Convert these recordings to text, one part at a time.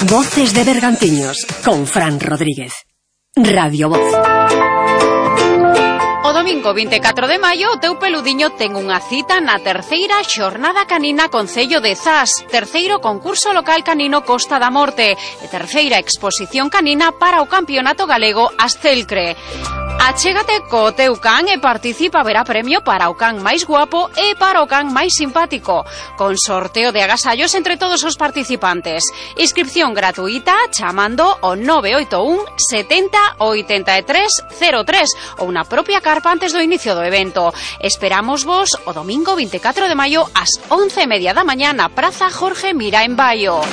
Voces de Bergantiños, con Fran Rodríguez. Radio Voz. O domingo 24 de maio, o teu peludiño ten unha cita na terceira xornada canina Concello de Zas, terceiro concurso local canino Costa da Morte e terceira exposición canina para o Campeonato Galego Astelcre. Achégate co teu can e participa, verá premio para o can máis guapo e para o can máis simpático, con sorteo de agasallos entre todos os participantes. Inscripción gratuita chamando ao 981 70 83 03 ou na propia carpa antes do inicio do evento. Esperamos vos o domingo 24 de maio ás 11:30 da mañá na Praza Jorge Mira en Baio.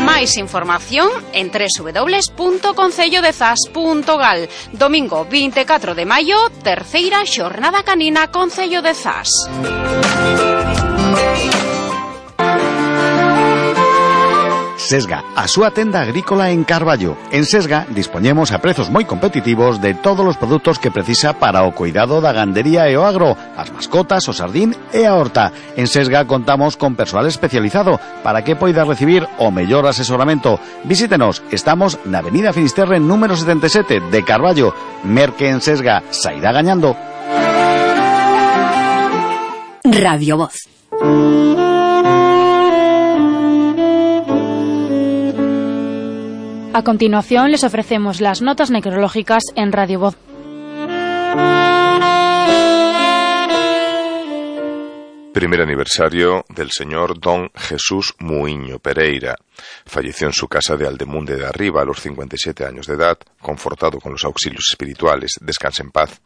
Máis información en www.concellodezas.gal. Domingo 24 de maio, terceira xornada canina Concello de Zas. Sesga, a súa tenda agrícola en Carballo. En Sesga dispoñemos a prezos moi competitivos de todos os produtos que precisa para o cuidado da gandería e o agro, as mascotas, o sardín e a horta. En Sesga contamos con persoal especializado para que poida recibir o mellor asesoramento. Visítenos, estamos na Avenida Finisterre número 77 de Carballo. Merque en Sesga, sairá gañando. Radio Voz. A continuación les ofrecemos las notas necrológicas en Radio Voz. Primer aniversario del señor Don Jesús Muiño Pereira. Falleció en su casa de Aldemunde de Arriba a los 57 años de edad, confortado con los auxilios espirituales. Descanse en paz.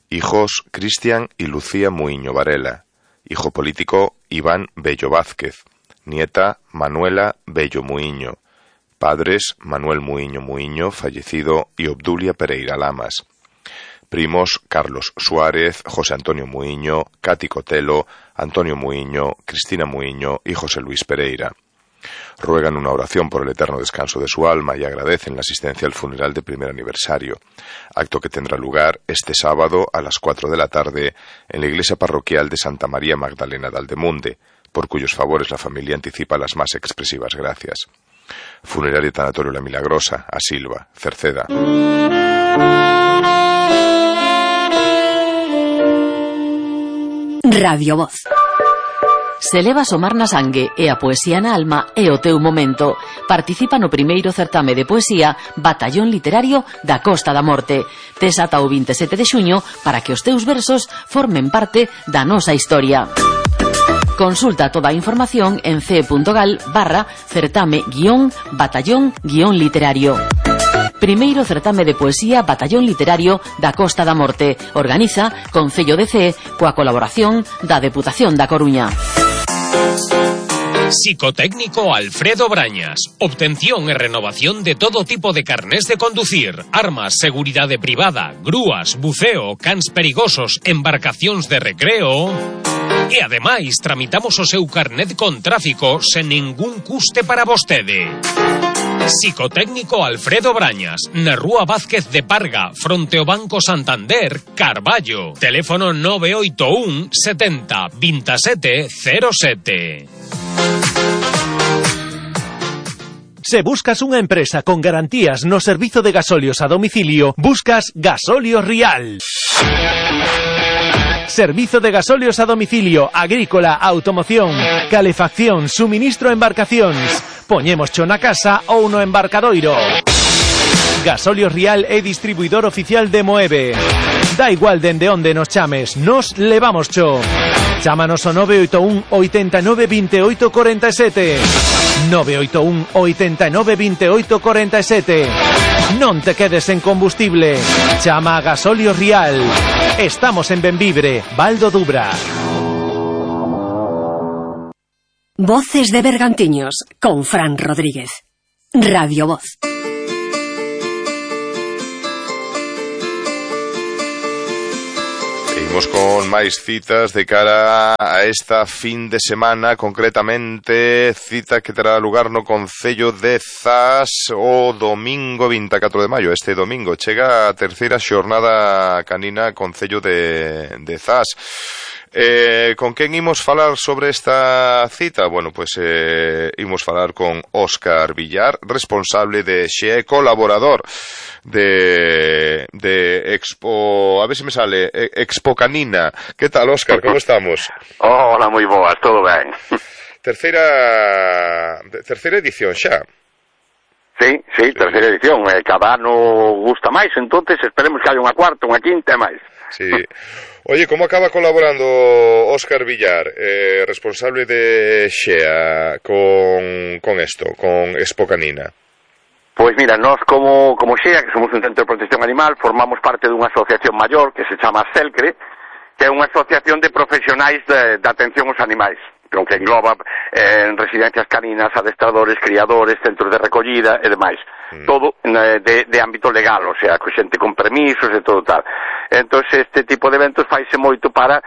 Hijos Cristian y Lucía Muiño Varela. Hijo político Iván Bello Vázquez. Nieta Manuela Bello Muiño. Padres Manuel Muiño Muiño, fallecido, y Obdulia Pereira Lamas. Primos Carlos Suárez, José Antonio Muiño, Cati Cotelo, Antonio Muiño, Cristina Muiño y José Luis Pereira. Ruegan una oración por el eterno descanso de su alma y agradecen la asistencia al funeral de primer aniversario, acto que tendrá lugar este sábado a las 4 de la tarde en la iglesia parroquial de Santa María Magdalena de Aldemunde, por cuyos favores la familia anticipa las más expresivas gracias. Funeraria Tanatorio La Milagrosa, a Silva, Cerceda. Radio Voz. Se leva a somar na sangue e a poesía na alma é o teu momento. Participa no primeiro certame de poesía Batallón Literario da Costa da Morte. Tes ata o 27 de xuño para que os teus versos formen parte da nosa historia. Consulta toda a información en ce.gal/certame-batallón-literario. Primeiro certame de poesía Batallón Literario da Costa da Morte. Organiza Concello de Cee coa colaboración da Deputación da Coruña. Psicotécnico Alfredo Brañas. Obtención e renovación de todo tipo de carnés de conducir, armas, seguridade privada, grúas, buceo, cans perigosos, embarcacións de recreo. E ademais tramitamos o seu carnet con tráfico sen ningún custe para vostede. Psicotécnico Alfredo Brañas, na Rúa Vázquez de Parga, fronte ao Banco Santander, Carballo. Teléfono 981 70 27 07. Se buscas unha empresa con garantías no servizo de gasolios a domicilio, buscas Gasolios Rial. Servizo de gasolios a domicilio, agrícola, automoción, calefacción, suministro a embarcacións. Poñémoscho na casa ou no embarcadoiro. Gasolios Rial é distribuidor oficial de Moeve. Da igual dende onde nos chames, nos levamoscho. Chámanos ao 981 89 28 47. 981 89 28 47. Non te quedes en combustible. Chama a Gasolios Rial. Estamos en Benvibre, Val do Dubra. Voces de Bergantiños, con Fran Rodríguez. Radio Voz. Seguimos con máis citas de cara a esta fin de semana, concretamente cita que terá lugar no Concello de Zas o domingo 24 de maio. Este domingo chega a terceira xornada canina Concello de Zas. Con quen imos falar sobre esta cita? Bueno, pois imos falar con Óscar Villar, responsable de XE, colaborador de Expo, a ver se me sale, Expo Canina. Que tal, Óscar, como estamos? Hola, moi boas, todo ben. Terceira edición xa. Sí, terceira edición, cada ano gusta máis, entonces esperemos que haya unha cuarta, unha quinta e máis. Sí. Oye, como acaba colaborando Óscar Villar, responsable de XEA, con esto, con Expo Canina? Pois mira, nós como XEA, que somos un centro de protección animal, formamos parte dunha asociación maior que se chama CELCRE, que é unha asociación de profesionais de atención aos animais, que engloba residencias caninas, adestradores, criadores, centros de recollida e demais. Todo de ámbito legal, o sea, con xente con permisos e todo tal. Entón, este tipo de eventos faise moito para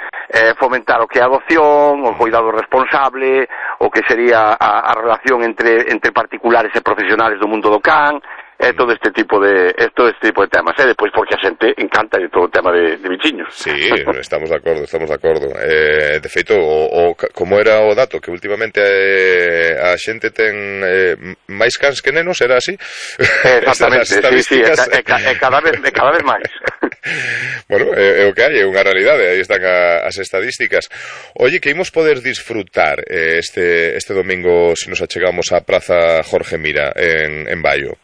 fomentar o que é a adopción, o cuidado responsable, o que sería a relación entre particulares e profesionales do mundo do can, todo este tipo de temas, depois porque a xente encanta de todo o tema de bichiños. Sí, estamos de acordo. De feito, como era o dato que últimamente a xente ten máis cans que nenos, era así? Exactamente, sí, cada vez máis. Bueno, é o que hai, é unha realidade, aí están as estadísticas. Oye, que imos poder disfrutar este domingo se nos achegamos á Praza Jorge Mira en Baio?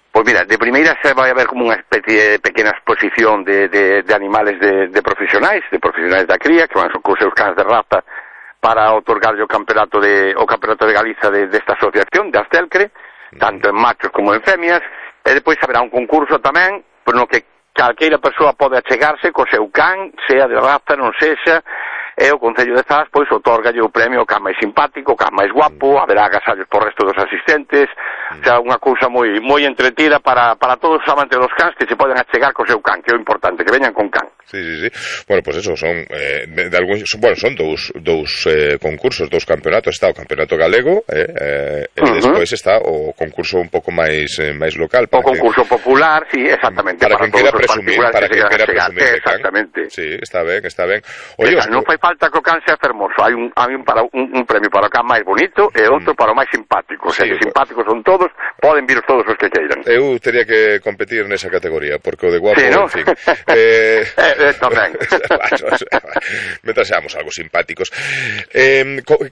Pois mira, de primeira se vai haber como unha especie de pequena exposición de animales de profesionais da cría, que van con seus cans de raza para otorgarlle o campeonato de Galiza desta asociación, de Astelcre, tanto en machos como en femias, e depois haberá un concurso tamén, por no que calqueira persoa pode achegarse co seu can, sea de raza, non sexa, e o Concello de Zas, pois, otorgalle o premio ao can máis simpático, o can máis guapo, haberá agasallos por resto dos asistentes, o sea, unha cousa moi entretida para todos os amantes dos cans que se poden achegar co seu can, que é o importante, que veñan con can. Sí. Bueno, pues eso, son dous concursos, dous campeonatos. Está o campeonato galego e despois está o concurso un pouco máis local. O concurso popular, sí, exactamente. Para quen quera presumir de can. Exactamente. Sí, está ben. Oye, non fai falta que o can sea fermoso, hai un premio para o can máis bonito e outro para o máis simpático. O sea, que simpáticos son todos, poden vir todos os que queiran. Eu teria que competir nesa categoría, porque o de guapo, sí, ¿no? En fin. Tamén. Mentras seamos algo simpáticos.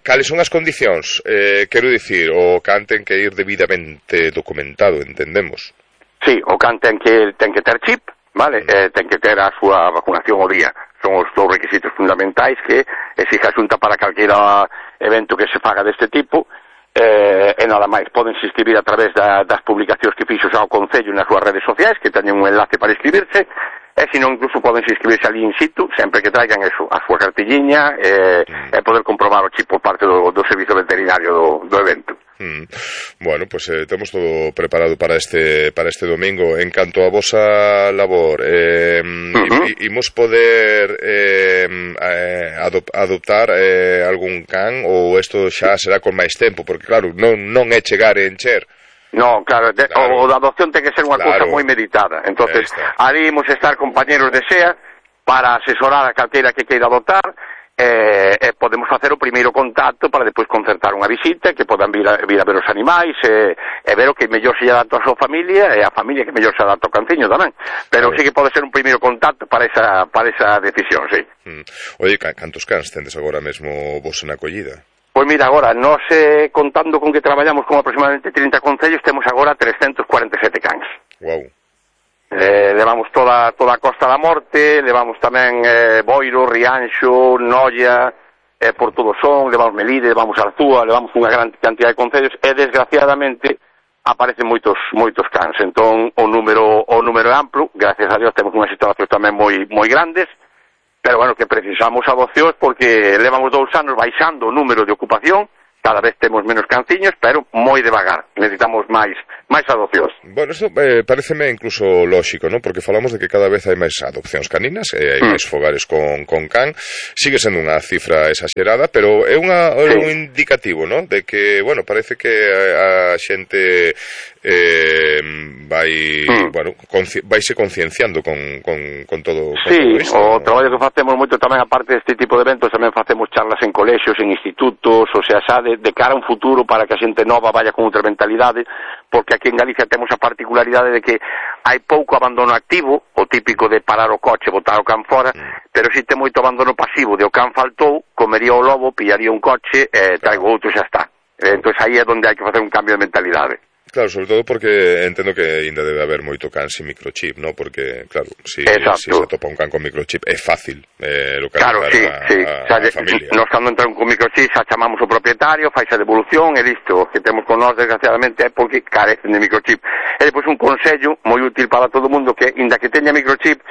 Cales son as condicións? Quero dicir, o can ten que ir debidamente documentado, entendemos. Sí, o can ten que ter chip, vale? Ten que ter a súa vacunación ao día. Son os dous requisitos fundamentais que exige a Xunta para calquera evento que se faga deste tipo, e nada máis. Podense inscribir a través das publicacións que fixo xa o Concello nas súas redes sociais, que teñen un enlace para inscribirse, e senón incluso podense inscribirse ali in situ, sempre que traigan eso, a súa cartilliña, e poder comprobar o chip por parte do servizo veterinario do evento. Bueno, pues temos todo preparado para este domingo. En canto a vosa labor, imos poder adoptar algún can, ou isto xa será con máis tempo, porque claro, non é chegar e encher. No, claro, o da adopción ten que ser unha cousa moi meditada. Entonces, ali imos estar compañeros de XEA para asesorar a calqueira que queira adoptar, e podemos facer o primeiro contacto para depois concertar unha visita, que podan vir a ver os animais e ver o que mellor se adapta a súa familia e a familia que mellor se adapta ao canciño tamén, pero sí que pode ser un primeiro contacto para esa decisión, sí. Oye, cantos cans tendes agora mesmo vos na acollida? Pois mira, agora, nós contando con que traballamos con aproximadamente 30 concellos, temos agora 347 cans. Guau. Levamos toda a Costa da Morte, levamos tamén Boiro, Rianxo, Noia, por todo son, levamos Melide, levamos Arzúa, levamos unha gran cantidad de concellos e desgraciadamente aparecen moitos cans. Entón o número é amplo, gracias a Dios temos unhas situacións tamén moi grandes, pero bueno, que precisamos adopcións porque levamos 2 anos baixando o número de ocupación, cada vez temos menos canciños, pero moi devagar. necesitamos máis adopcións. Bueno, isto pareceme incluso lóxico, ¿no? Porque falamos de que cada vez hai máis adopcións caninas, hai máis fogares con can, sigue sendo unha cifra exagerada, pero é un indicativo, ¿no? De que, bueno, parece que a xente vaise concienciando con todo isto. O traballo que facemos moito tamén, aparte deste tipo de eventos, tamén facemos charlas en colexios, en institutos, o sea, xa de cara a un futuro para que a xente nova vaya con outra mentalidade, porque aquí en Galicia temos a particularidade de que hai pouco abandono activo, o típico de parar o coche, botar o can fora, pero si ten moito abandono pasivo, de o can faltou, comería o lobo, pillaría un coche, traigo outro e xa está. Entón aí é onde hai que facer un cambio de mentalidade. Claro, sobre todo porque entendo que ainda debe haber moito can sin microchip, ¿no? Porque, claro, si se atopa un can con microchip é fácil localizar a familia. Nos cando entran con microchip xa chamamos o propietario, faise a devolución e listo. O que temos con nós, desgraciadamente, é porque carecen de microchip. E depois un consello moi útil para todo o mundo que, inda que teña microchip,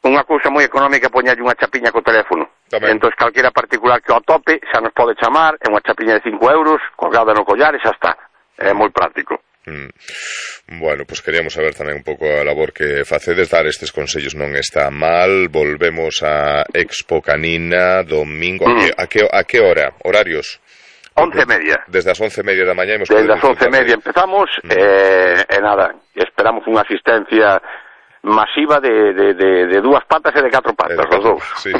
unha cousa moi económica é poñerlle unha chapiña co teléfono. Entón, calquera particular que o atope xa nos pode chamar, é unha chapiña de 5 euros, colgada no collar e xa está. É moi práctico. Bueno, pues queríamos saber tamén un pouco a labor que facedes. Dar estes consellos non está mal. Volvemos a Expo Canina domingo. A que hora? Horarios? 11:30. Desde as 11:30 da mañá. Desde as 11:30 empezamos e nada, esperamos unha asistencia masiva de dúas patas e de 4 patas, os dous. Sí.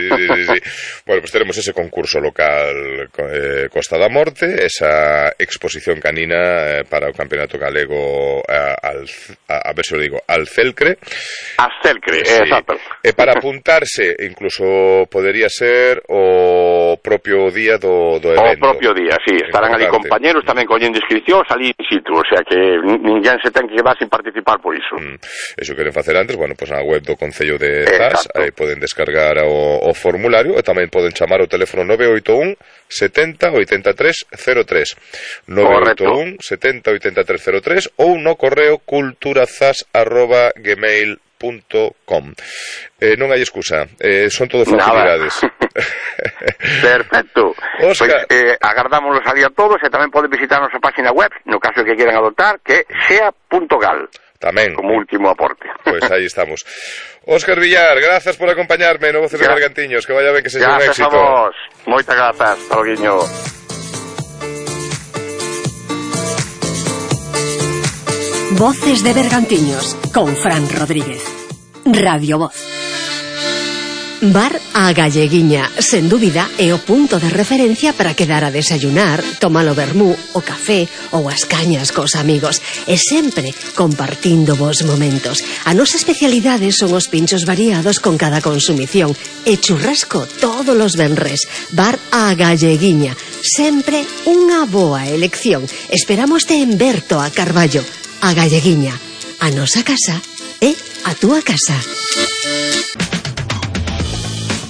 Bueno, pues teremos ese concurso local Costa da Morte, esa exposición canina para o Campeonato Galego a ver se lo digo, Alcelcre. Alcelcre, sí. Exacto. E para apuntarse, incluso podería ser o propio día do evento. O propio día, sí. Estarán ali compañeros tamén collendo inscricións ali in situ, o sea que ninguén se ten que quedar sin participar por iso. Eso queren facer antes, bueno, pues na web do Concello de Zas, aí poden descargar o formulario e tamén poden chamar ao teléfono 981 70 83 03 981 70 83 03 ou no correo culturazas@gmail.com. Non hai excusa, son todo facilidades. Perfecto. Óscar, pues, agardámoslos ali a todos e tamén poden visitar a nosa página web, no caso que quieran adoptar, que é sea.gal. Tamén. Como último aporte. Pois aí estamos. Óscar Villar, grazas por acompañarme no Voces de Bergantiños, que vaya ben, que sexa un éxito. Grazas a vos. Moitas grazas, Taloguiño. Voces de Bergantiños con Fran Rodríguez. Radio Voz. Bar A Galleguiña, sen dúbida, é o punto de referencia para quedar a desayunar, tomar o vermú, o café ou as cañas cos amigos, e sempre compartindo vos momentos. A nosa especialidade son os pinchos variados con cada consumición e churrasco todos os venres. Bar A Galleguiña, sempre unha boa elección. Esperámoste en Berto a Carballo. A Galleguiña, a nosa casa é a túa casa.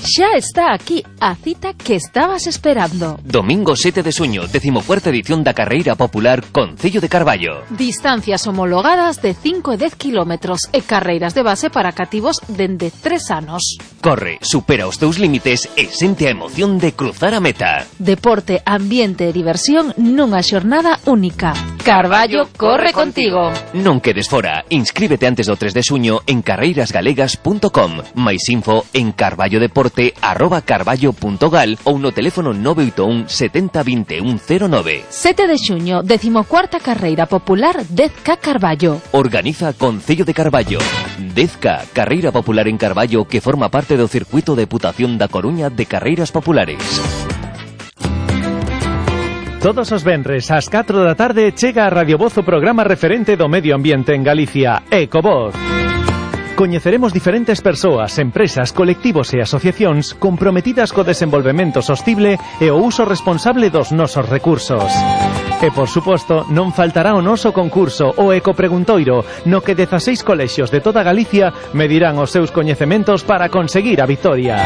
Xa está aquí a cita que estabas esperando. Domingo 7 de xuño, 14ª edición da Carreira Popular Concello de Carballo. Distancias homologadas de 5 e 10 kilómetros e carreiras de base para cativos dende 3 anos. Corre, supera os teus límites e sente a emoción de cruzar a meta. Deporte, ambiente e diversión nunha xornada única. Carballo corre contigo. Non quedes fora. Inscríbete antes do 3 de xuño en carreirasgalegas.com. Mais info en carballodeporte@carballo.gal ou no teléfono 981 70 21 09. 7 de xuño, 14ª Carreira Popular 10K Carballo. Organiza Concello de Carballo. 10K, Carreira Popular en Carballo, que forma parte do circuito de Deputación da Coruña de Carreiras Populares. Todos os venres ás 4 da tarde chega a Radio Voz o programa referente do medio ambiente en Galicia, Ecovoz. Coñeceremos diferentes persoas, empresas, colectivos e asociacións comprometidas co desenvolvemento sostible e o uso responsable dos nosos recursos. E, por suposto, non faltará o noso concurso, o Ecopreguntoiro, no que 16 colexios de toda Galicia medirán os seus coñecementos para conseguir a vitoria.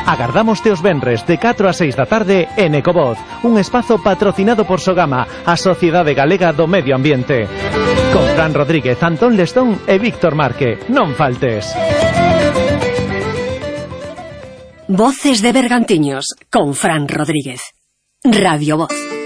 Agardámoste os venres de 4 a 6 da tarde en Ecovoz, un espazo patrocinado por Sogama, a Sociedade Galega do Medio Ambiente. Con Fran Rodríguez, Antón Lestón e Víctor Marque. Non faltes. Voces de Bergantiños con Fran Rodríguez. Radio Voz.